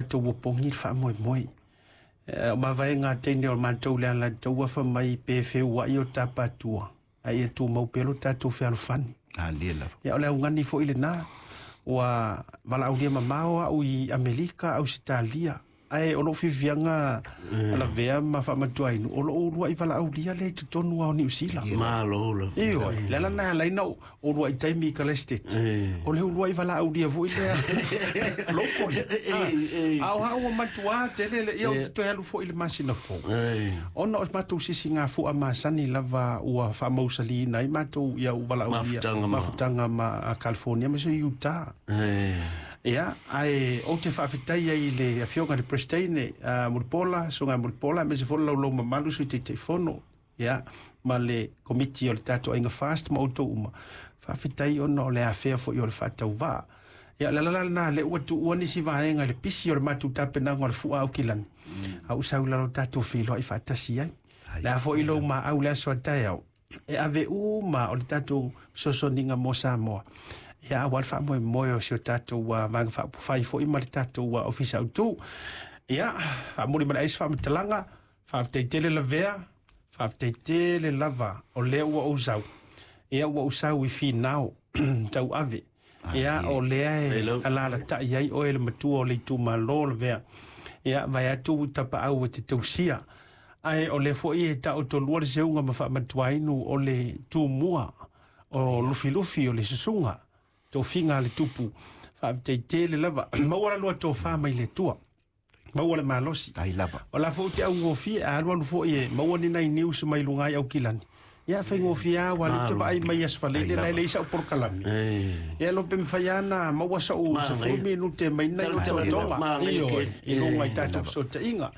tatou opogi le faamoemoe. O mavaega a teine o matou le Alataua fai mai pe feua'i o tapatua a ia tumau pea lo tatou fealofani. Alie lava. Ia o le augani fo'i lenā ua valaaulia mamao a'u i Amerika, Ausetalia, ae o lo'u fiafiaga lavea ma faamatuainu o lo'u ulua'i valaaulia lea i totonu a o Niusila. Malo lava. Ioe, le ala lena e ala ai ona ou ulua'i taimi i Kalesteti, o le ulua'i valaaulia foi lea locally. A o a'u ua matuā tele le ia ou te toe alu foi i le masina fou ona o matou sisigafu'a masani lava ua faamausaliina ai matou ia ou valaaulia mafutaga ma California ma se Utah. Ia, ae ou te faafetai ai i le afioga i le Peresetene Mulipola, Susuga Mulipola, aemaise foi le laulau mamalu, Sui Taitaifono, ia, ma le Komiti o le tatou Aiga Fast ma outou uma. Faafetai ona o le afea foi o le faatauvaa. Ia, o le ala la lena lea ua tuua nisi vaega i le pisi o le matou tapenaga o le fua Aukilani, a ou sau i lalo tatou feiloai faatasi ai. Le a foi lou maau le aso a taeao, e ave uma o le tatou fesoasoaniga mo Samoa. Ia, aua le faamoemoe o si o tatou Vaega Faaupufai foi ma le tatou Ofisa Autu. Ia, faamuli ma le ai se faamatalaga, faafetai tele lavea, faafetai tele lava o lea ua ou sau. Ia, ua ou sau i Finao tauave. Ia, o lea e alalatai ai oe le matua o le itumalo lavea. Ia, vaeatu tapaau e te tausia. Ae o lea foi e taotolua le seuga ma faamatuainu o le tumua o Lufilufi o le susuga tofiga a le tupu. Faafetai tele lava. Maua la lua tofa mai le Atua. Maua le malosi. Ai lava. O la foi ou te augofie a alualu foi e maua ni nai news mai luga ai Aukilani. Ia faigofie lava ua alu te vaai mai Aso Faraile la e leai sau polokalame. Ia lo pe mafai lava ona maua sau 10 minute mai nai ototoga ioe i luga i tatou fesootaiga.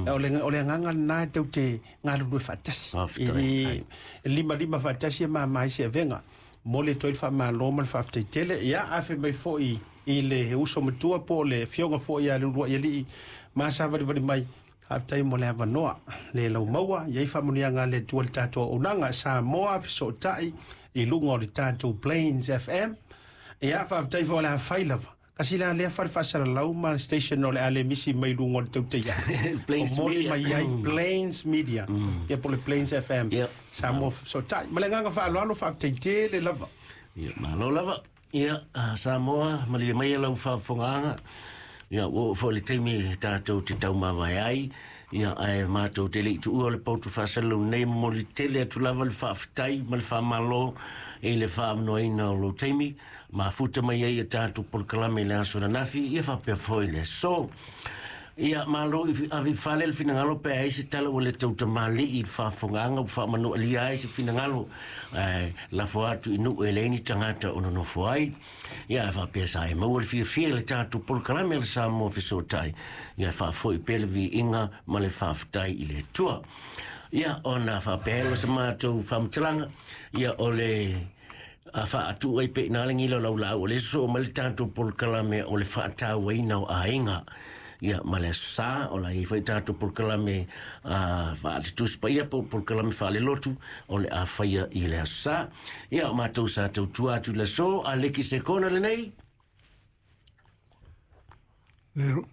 O le o le agaga lena e tou te galulue faatasi. E limalima faatasi e mama ai se avega. Momoli atu ai le faamalo ma le faafetai tele. Ia afe mai foi i le uso matua po o le afioga foi ia Leuluaialii ma savalivali mai. Faafetai mo le avanoa le laumaua i ai faamanuiaga a le Atua i le tatou auaunaga Samoa fesootai i luga o le tatou Plains FM. Ia, faafetai foi o le a fai lava. Kasi la lea fale faasalalau ma station o le a le misi mai luga o le tautai ae. Plains O moli Media. mai ai Plains Media. Ia po o le Plains FM. Yep. Samoa fesootai. Ma le agaga faaaloalo faafetai tele lava. Ia, malo lava. Ia, Samoa, malie maia lau faafofogaaga. Ia, ua oo foi le taimi tatou te taumavae ai. Ia, ae matou te le i tuua le potu faasalalau nei, momoli tele atu lava le faafetai ma le faamalo i le faaavanoaina o lou taimi. Mafuta mai ai a tatou polokalame i le aso ananafi, ia faapea foi le aso. Ia, malo i ave i fale le finagalo pe a i ai se tala ua le tautamalii i le faafofogaaga ua faamanualia ai se finagalo, ae lafo atu i nuu e leai ni tagata o nonofo ai. Ia, ae faapea sa e maua le fiafia i le tatou polokalame a le Samoa Fesootai, ia faafoi pea le viiga ma le faafetai i le Atua. Ia, ona faapea ai lea o se matou faamatalaga, ia o le a faatuu ai pea i ina le gila o lau laau, o lea e sosoo mai le tatou polokalame o le faatauaina o aiga. Ia, ma le Aso Sa, o la e i ai foi tatou polokalame faale-Tusi Paia po o polokalame faale-lotu o le a faia i le Aso Sa. Ia, o matou sa tautua atu i le aso, a leki se kona lenei.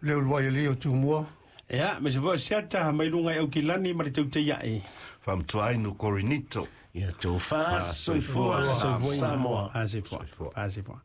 Le uluai alii o Tumua. Ia, me se foi siata mai luga i Aukilani ma le tautai ae. Faamatuainu Korinito. Ia tofa soifua Samoa. Soifua. Soifua.